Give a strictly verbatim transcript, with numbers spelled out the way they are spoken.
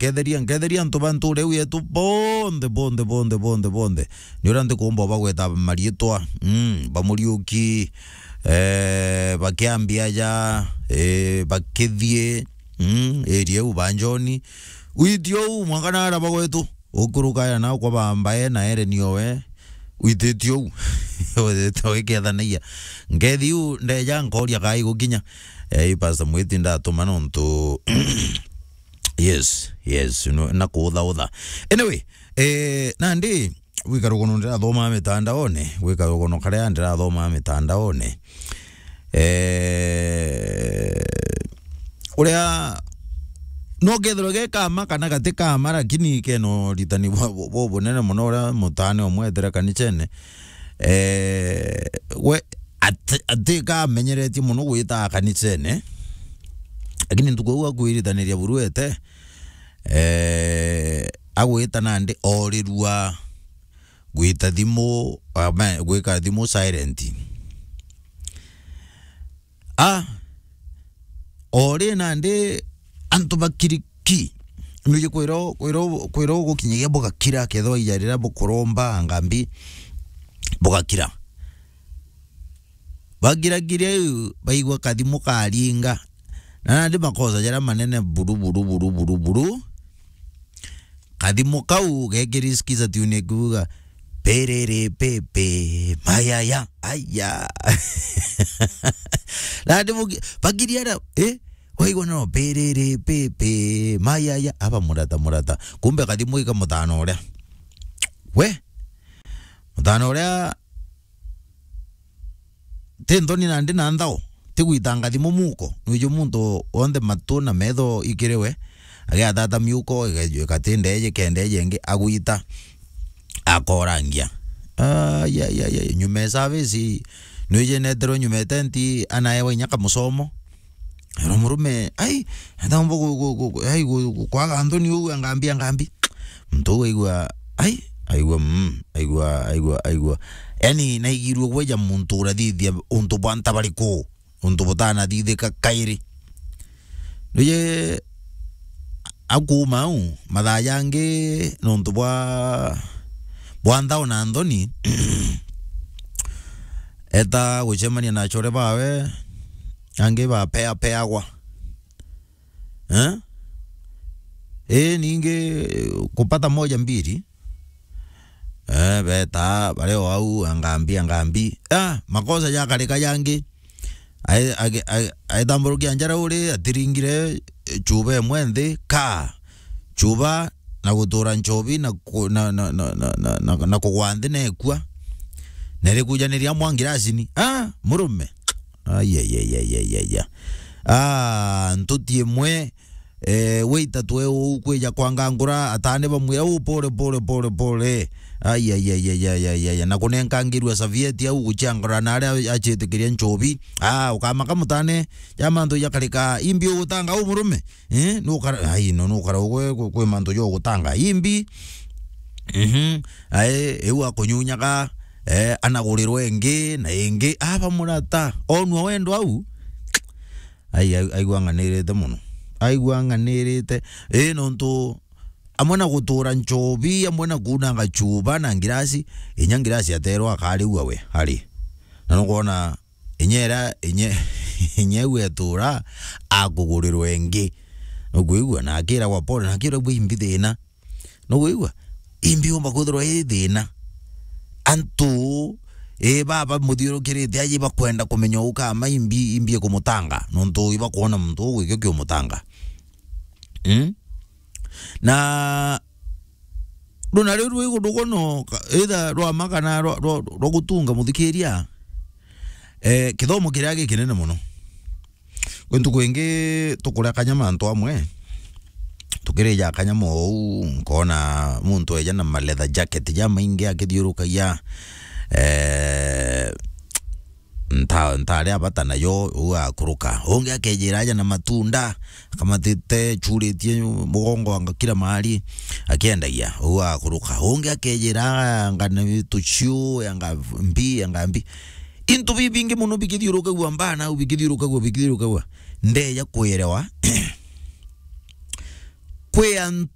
nketheria, nketheria antu ba ntuura iu yetu bonthe, bonthe, bonthe, bonthe, bonthe. Ni uria ntikumba ubagweta mariitwa, mm, ba Muriuki, eh, ba Kiambi aja, eh, ba Kithie, mm, area iu ba Njoni. Witi uu, mwanka naara bagwetu. Ukuruka ya nao kwa bambae na ere niowe. Wititio uu. Wititio wikethanagia. Nkethi iu ndeja nkoria kai gukinya. Eh, Pastor Mwiti ndatuma nontu Yes, yes, no, na kuuthautha. Anyway, eh, nandi, gwika rugono ndirathoma mitandaone, gwika rugono karia ndirathoma mitandaone. Eh, uria, no kethirwe ge kama kana gati kama, lakini keno ritani bo, bo, bo bunene mono uria mutane umwe etire kanicene. Eh, we, ati, ati kamenyeretie mono gwita kanicene. Lakini ntuku iu akwiritaniria buru ete, eh, agwita nandi orirua gwita thimu, ama, gwika thimu silent. Ah, ori nandi antu bakiriki. Nuji kwiro, kwiro, kwiro gukinyagia bugakira, kethwa ija riria bukuromba ngambi, bugakira. Bagiragiria iu, baigua kathimu karinga. Na nandi makosa jaria manene buru, buru, buru, buru, buru. Kathimu kau gekirisikiza tune kuuga, "Perere pepe, mayaya, aya." Nandi bugi-, bagiria ara, eh? Waigua no, "Perere pepe, mayaya." Aba murata, murata. Kumbe kathimu ika mutano uria. We? Mutano uria ti nthoni nandi na nthao, ti gwitanga thimu muko. Nwiji muntu wonthe matu na metho ikiri we, agiatata miuko, ige-, igati ndeje, kenda ije ingi, agwita, akorangia. Ai, ai, ai, ai, nyuma e service, nwiji neterwe nyuma e tenti, anaewa inya kamusomo. Ero murume, ai, atambo gu-, gu-, gu-, gu-, ai, gu-, gu-, kwaga nthoni uu, angambi, angambi. Muntu uu aigua, ai, aigua, mm, aigua, aigua, aigua. Yani, naigirue gweja muntu urathithia untu bwa ntabariku, untu butanathithika kairi. Nuye akuuma au, mathaa jangi nontu bwa, bwa nthao na nthoni, eta gucemania na achore bawe, angi bapeapeagwa. Eh? Ii, ningi kupata moja mbili. Eh, beta, bare o au, angambi, angambi. Ah, makosa jakarika jangi. Ai-, age-, ai-, aitamburukia njara uri, atiringire, eh, chuba imwe nthi, ka. Chuba, na gutura nchobi, na ku-, na, na, na kugwa nthi na ekua. Na irikujaniria mwa ngirasini. Ah, murume. Ai, ai, ai, ai, ai, ai, ai. Ah, ntuti imwe, eh, waita twe uu kwija kwangangura, atane bamwira, "Uu, pole, pole, pole, pole." Ai, ai, ai, ai, ai, ai, ai, ai. Na kunenkangirua savieti au guchiangura na aria achitikiria nchobi. Ah, ukamaka mutane, ja mantu jakarika, imbi ugutanga uu murume? Eh, nukara, ai, no, nukara ugwe kwi, kwi mantu jo gutanga. Imbi. Mhm. Ai, iu akunyunyaga, eh, anagurirwe ingi, na ingi. Aba murata. Onwa wendo au. Ai, ai, aigua ang'anirite mono. Aigua ang'anirite. Ii, nontu amwe na gutura nchobi, amwe na kunanga chuba na ngirasi, inya ngirasi aterwa akariua we, ari. Na nukwona inya ira, inya, inya iu etura, akugurirwa ingi. Nukwigua? Na akiragwa pole, na akiragwa imbi thina. Nukwigua? Imbi yumba kwithirwa i thina. Antu, ii, baba muthiurukirite aji bakwenda kumenya ukama imbi, imbi ikumutanga. Nontu ibakwona muntu ugwikio kiumutanga. Mm? Na runa riu rwi gundu guno, ka-, either rwa ma kana rwa, rwa, rwa gutunga muthikiria, eh, kithomo kiria gikinene mono. Kwi ntuku ingi tukuria kanyama antu amwe, tukirija kanyama ou, nkona muntu eja na ma leather jacket jamaingi akithiurukagia, eh, nta-, ntari abata nayo, uu akuruka. Ungi akejira aja na matunda, akamatite, churitie mugongo anga kila mahali, akiendagia, uu akuruka. Ungi akejira anga ni tuciu, anga mbi, anga mbi. Into bibingi mono bikithiurukagua mbana, au bikithiurukagua, bikithiurukagua. Ndeja kwirewa. kwi antu